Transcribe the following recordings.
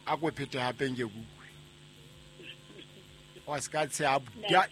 A ko phete hape nke ke utlwe. Wa se ka tsheha buda.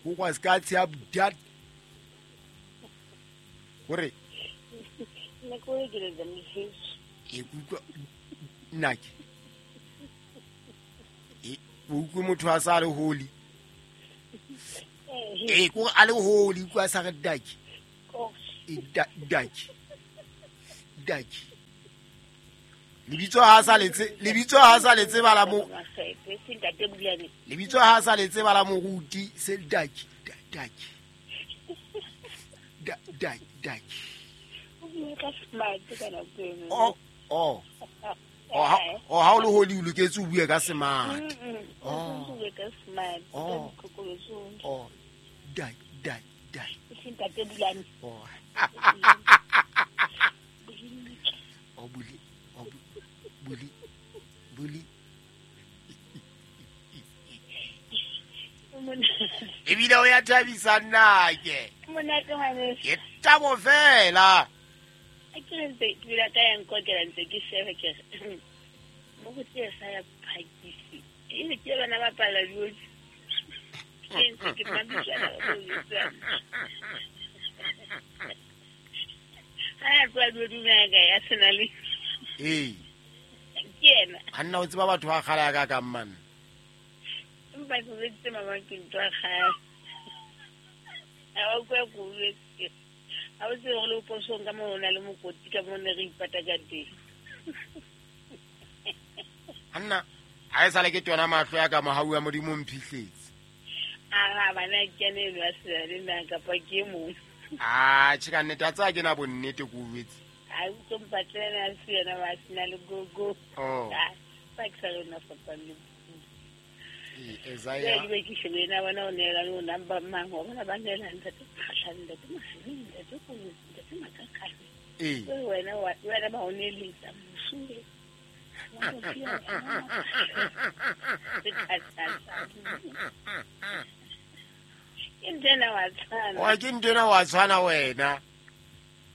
Wa se ka tsheha buda. Hore Nna ke o ekeletsa motjheso. E kutlwa nna ke. E o utlwe motho a sa le holi. E ko a le holi kwa sa re daki. E daki. Daki. Lebitso ha sa letse, lebitso ha sa letse bala mo. Lebitso ha sa letse bala moruti se daki daki. Daki daki. Oh oh. Oh ha o le holi o loketse o bue ka smart. Oh. Oh. Oh. Daki daki daki. Oh. Oh buli. Oh buli. Buli. Ebile o ya thabisa nna ke. Monate ngwaneso. Ke thabo fela. A ke re ntse ke bile ka ya nkokela ntse ke sheba ke re mo go tse sa ya phakisi. E ke bana ba pala diosi. Ke ntse ke mabitsana ba go. Ha ya tloha dumela ka ya sena le. Ee. Ke yena. Anna o tseba batho ba kgale ka ka mmana. Empa ke boletse mama ke ntho ya kgale. Ha o kwa go boletse. Ha o tsebe gore le posong ka mo o na le mokoti ka mo ne re ipata ka teng. Anna, ha e sale ke tona mahlo ya ka mohau wa Modimo mphihletse. A bana ke ene eno a sena le nna kapa ke e mong. Ah, tjhe ka nnete a tsaya ke na bonnete ko jwetse. A utlwe mpatlele a se yena ba sena le gogo. Oh. Ba ke sa le nna fapang le. Isaiah. Ke ke shebe na bona o neela le number mang wa bona ba neela ntate Kgahlane ntate Maseleng ntate Kolotsi ntate Makakane. Ee. Wena wena ba o neeletsa mosuwe. Ke ntena wa tshwana. Wa ke ntena wa tshwana wena.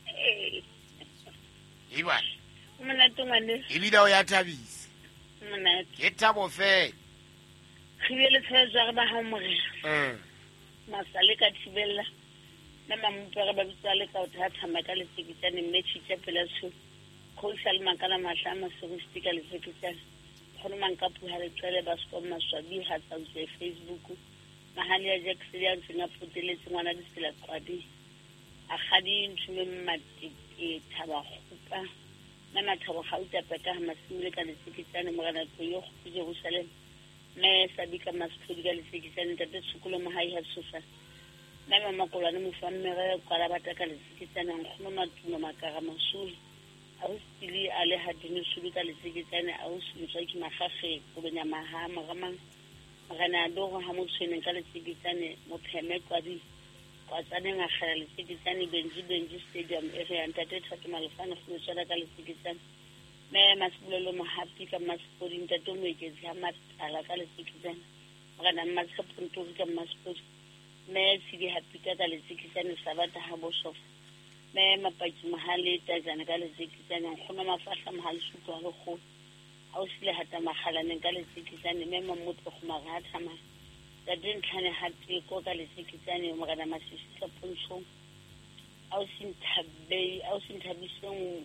Ee. Iba. Monate ngwaneso. Ebile o ya thabisa. Monate. Ke thabo fela. Re bile le tshwaetso ya re ba hao morena. Masale ka thibella. Mme mamopere ba bitsa le ka o thathama ka letsekitsane mme tshitja pela tsho. Kgosi le makala mahla a maseristi ka letsekitsane. Kgono manka puha leqele ba skom maswabi ha tsa utswe Facebook. Mahali ya Jackson ya ntseng a poteletse ngwana ditsela qwadi. A kgadi nthume mmatete thaba kgupa. Mme mathabo gauta peka ha masimile ka letsekitsane morena Tloyo go Jerusalem. Mme Sabika Masphodi ka letsekitsane ntate Tshokolo Mohai ha tshosa. Mme Mamakolwane mofa mmere kwala bata ka letsekitsane nkgono Matumo Makara Masuli. Ausili a le hadino sulu ka letsekitsane ausi ke magage kobenya maha moramang. Morena Doro ha motshweneng ka letsekitsane mopheme kwadi kwatsaneng a kgela letsekitsane Benji Benji Stadium area ntate Thato Malefane go tswela ka letsekitsane. Mme Masibulelo Mohapi ka Masipodi ntate Moeketsi ha Matala ka letsekitsane. Morena Mmatshepo Ntori ka Masipodi. Mme Tshidi Hapita ka letsekitsane Sabata ha Boshof. Mme Mapaki Mohale Tajana ka letsekitsane nkgono Mafahla Mohale Sutu ha lekgolo. Ausile hata makgalaneng ka letsekitsane mme Mamotlo Kgomare ha thamaya. Ntate Ntlhane ha Teko ka letsekitsane morena Masisi ka Pontshong. Ausi Nthabiseng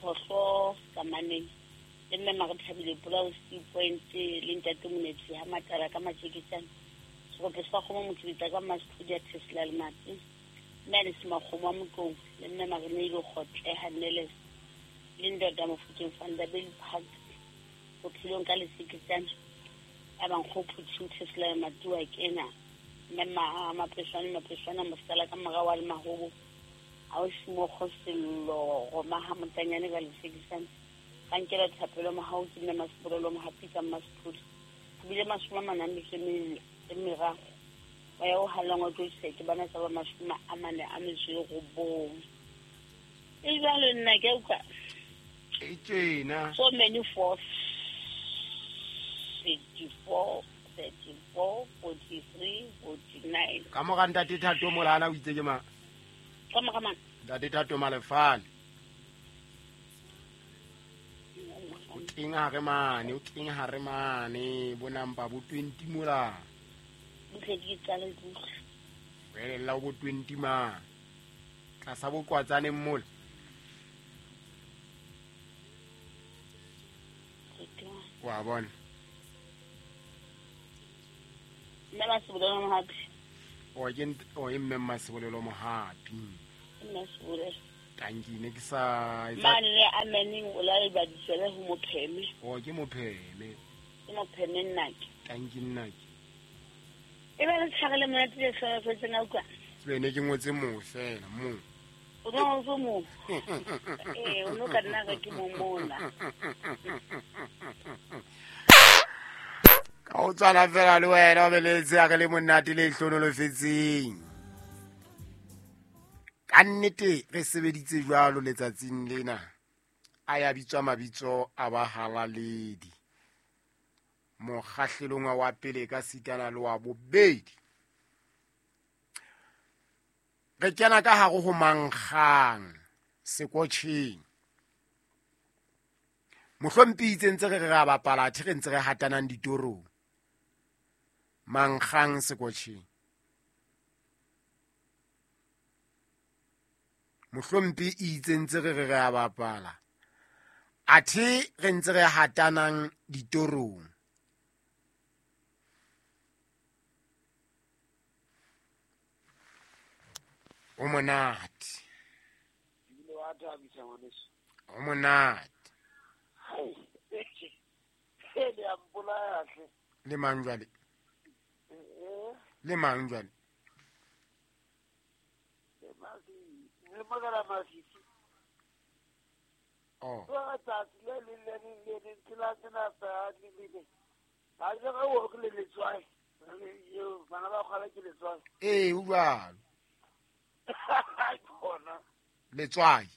Phohlo Kamaneng. Le mme Marethabile Polao C Point le ntate Monetsi ha Matala ka matsekitsane. Serope sa kgomo Mokibita ka Masphodi ya Tesla le Matse. Mme Alice Makgomo wa Motlong le mme Mareneile Kgotleha Neles. Le ntate Mofokeng van der Bell Park bophelong ka letsekitsane. A bankgo phuthu Tesla Matua kena. Mme Mapeswane Mapeswana mosala ka mora wa le mahobo. Ausi Mokgo Sello Roma ha Motanyane ka letsekitsane. Ka nkela thapelo mohau ke mme Masipolelo Mohapi ka Masphodi. Go bile 43 meraro. Moya o hallang wa tlo ke bana tsa ba 49. E jwalo nna ke utlwa. E tjena. So many 4 34 34 43 49. Ka mora ntate Thato Molana o itse ke mang? Ka mora mang? Ntate Thato Malefane. Teng hare mane, o teng hare mane, bo nampa bo 20 mola. Butle ke qale butle. Welella bo 20 mane. Tlasa bo kwatsaneng mola. Wa bona. Mme Masebolelo Mohapi. O ke o mme Masebolelo Mohapi. Mme Masebolelo. Tanki ne ke sa mane le ameneng o la le badisele ho mopheme. O ke mopheme. Ke mopheme nnake. Tanki nnake. E ba le tshwarele monate le hlolofetseng a utlwa. Tsebe ne ke ngotse mo fela mo. O no o mo. O no ka nna ke mo mona. Ka o tswana fela le wena o beletse a re le monate le hlonolofetseng. Ka nnete re sebeditse jwalo letsatsing lena. A ya bitswa mabitso a bahalaledi. Mokgahlelong wa pele ka sitana le wa bobedi. Re kena ka hare ho mankgang sekotjheng. Mohlomphi itse ntse re re ra bapala athe re ntse re hatanang ditorong. Mankgang sekotjheng. Mohlomphi itse ntse re re ra bapala athe re ntse re hatanang ditorong. O monate. O monate. Le mang jwale? Le mang jwale? Oh. Eh, o jwalo. Letswai.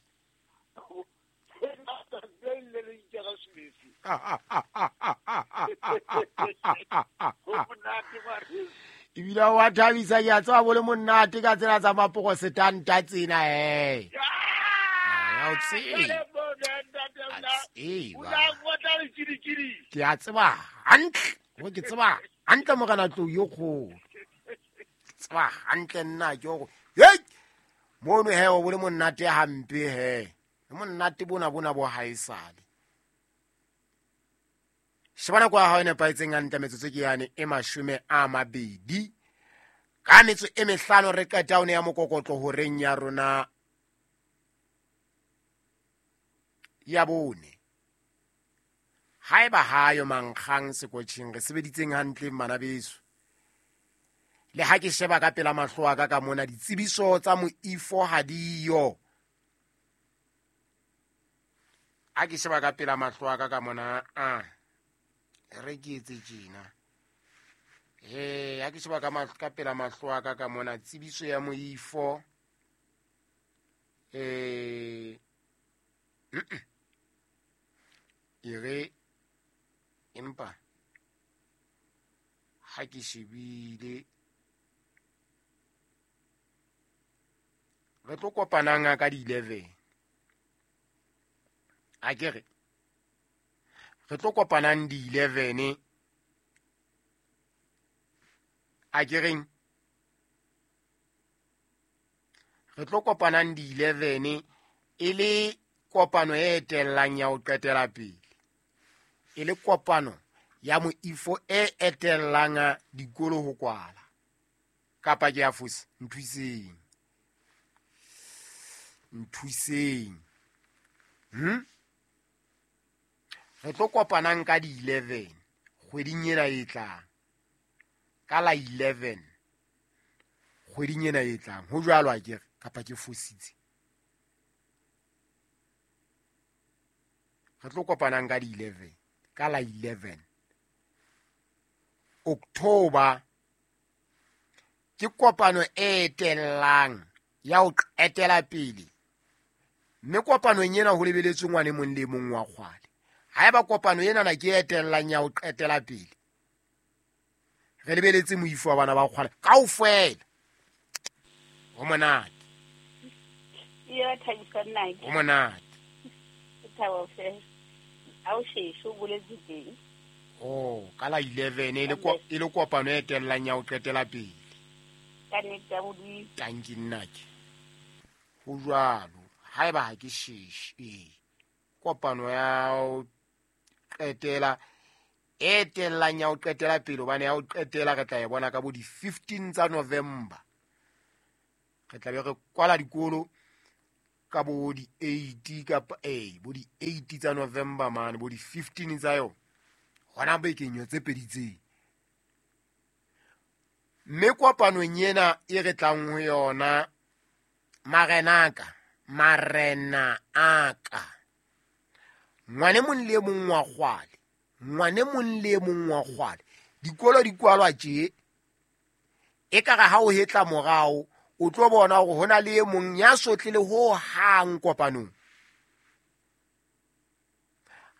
Ebile wa thabisa ke a tseba bo le monate ka tsela tsa maprosetanta tsena he. Ya o tseba. Ke a tseba hantle, ho ke tseba hantle morena tlou yo kgolo. Ke tseba hantle nna ke hore hey mono he o bo le monate hampe he. Monate bona bona bo haesale. Shebana kwa hao e nepahetseng hantle metsotso ke yane e 20 ka metso e 5 re qeta one ya mokokotlo horeng ya rona ya bone. Haeba hayo mankgang sekotjheng re sebeditseng hantle bana beso. Le ha ke sheba ka pela mahlo a ka ka mona ditsebiso tsa moifo ha diyo. Ha ke sheba ka pela mahlo a ka ka mona a re ke etse tjena. Ha ke sheba ka pela mahlo a ka ka mona tsebiso ya moifo e re empa ha ke shebile re tlo kopanang ka di 11. A ke re re tlo kopanang di 11. A ke reng re tlo kopanang di 11 e le kopano e etellang ya ho qetela pele. E le kopano ya moifo e etellang dikolo ho kwala. Kapa ke a fosa, nthuseng. Nthuseng. Re tlo kopanang ka di 11 kgweding ena e tlang. Ka la 11 kgweding ena e tlang. Ho jwalo a ke re kapa ke fositse. Re tlo kopanang ka di 11 ka la 11 October ke kopano e etellang ya ho qetela pele. Mme kopanong ena ho lebeletswe ngwane mong le mong wa kgwale. Haeba kopano ena na ke etellang ya ho qetela pele, re lebeletse moifo wa bana ba kgwale kaofela. Ho monate. Ya thabisa nna. Ho monate. Ke thabo fela. Ha o sheshe o boletse teng. Oh, ka la 11 e le kopano e etellang ya ho qetela pele. Ka nnete ya Modimo. Tanki nnake. Ho jwalo, haeba ha ke sheshe, ee. Kopano ya ho qetela e etellang ya ho qetela pele, hobane ya ho qetela re tla e bona ka bo di 15 tsa November. Re tla be re kwala dikolo ka bo di 8 kapa bo di 8 tsa November mane, bo di 15 tsa yona. Hona bekeng yo tse pedi tse. Mme kopanong ena e re tlang ho yona, marena aka, ngwane mong le mong wa kgwale, ngwane mong le mong wa kgwale, dikolo di kwalwa tje, ekare ha o hetla morao, o tlo bona hore ho na le e mong ya sotlile ho hang kopanong.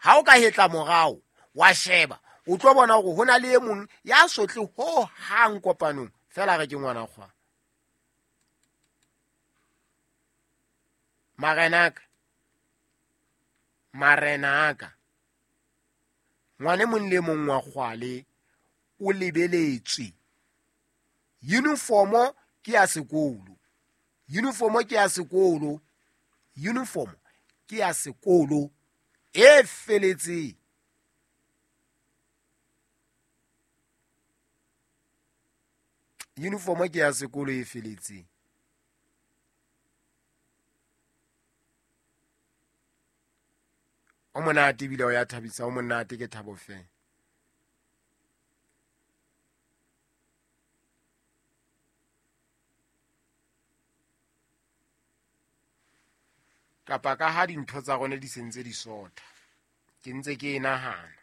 Ha o ka hetla morao, wa sheba, o tlo bona hore ho na le e mong ya sotle ho hang kopanong. Fela re ke ngwana kgwa. Marena aka, ngwane mong le mong wa kgwale o lebeletswe. Uniformo ke ya sekolo. Uniformo ke ya sekolo. Uniformo ke ya sekolo e feletseng. Uniformo ke ya sekolo e feletseng. O monate ebile o ya thabisa, o monate ke thabo fela. Kapa ka ha dintho tsa rona di sentse di sotha, ke ntse ke e nahana.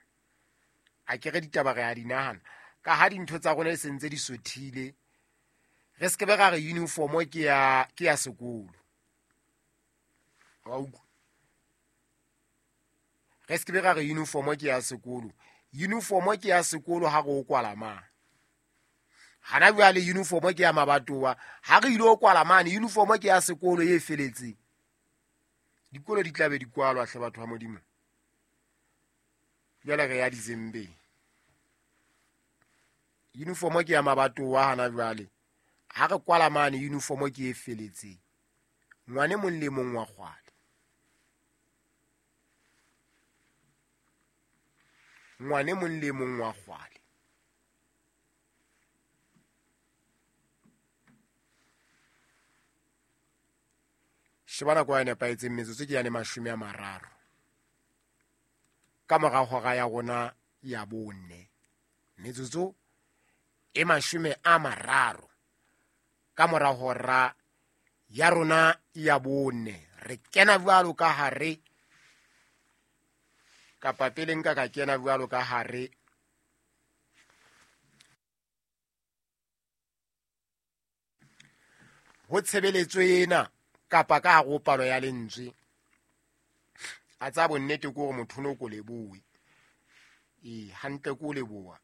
A ke re ditaba re a di nahana. Ka ha dintho tsa rona di sentse di sothile, re se ke be ra re uniformo ke ya sekolo. Wa utlwa? Re se ke be ra re uniformo ke ya sekolo. Uniformo ke ya sekolo ha re o kwala mane. Hana jwale uniformo ke ya mabatowa, ha re ile o kwala mane, uniformo ke ya sekolo e feletseng. Dikolo di tla be di kwalwa hle batho ba Modimo. Jwale re ya December. Uniformo ke ya mabatowa hana jwale. Ha re kwala mane, uniformo ke e feletseng. Ngwane mong le mong wa kgwale. Ngwane mong le mong wa kgwale. Sheba nako ya nepahetseng, metsotso ke yane 30. Ka mora hora ya rona ya 4. Metsotso e 30. Ka mora hora ya rona ya 4. Re kena jwalo ka hare, kapa pele nka ka kena jwalo ka hare ho tshebeletso ena, kapa ka hare ho palo ya lentswe. A tsa bonnete ke hore motho no ko lebohe. Ee, hantle ko leboha.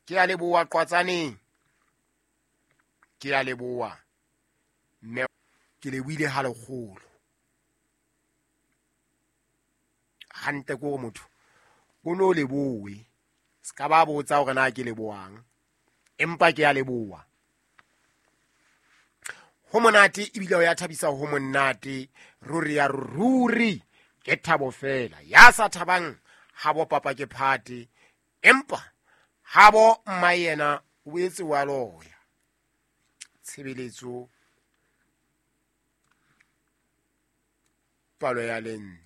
Ke a leboha Qwatsaneng. Ke a leboha. Mme ke lebohile ha lekgolo. Hantle ke hore motho o no lebohe. Se ka ba botsa hore na ke lebohang, empa ke a leboha. Ho monate ebile ho ya thabisa, ho monate ruri ya ruri, ke thabo fela. Ya sa thabang ha bo papa ke phate, empa ha bo mma yena o etse wa loya. Tshebeletso palo ya lentswe.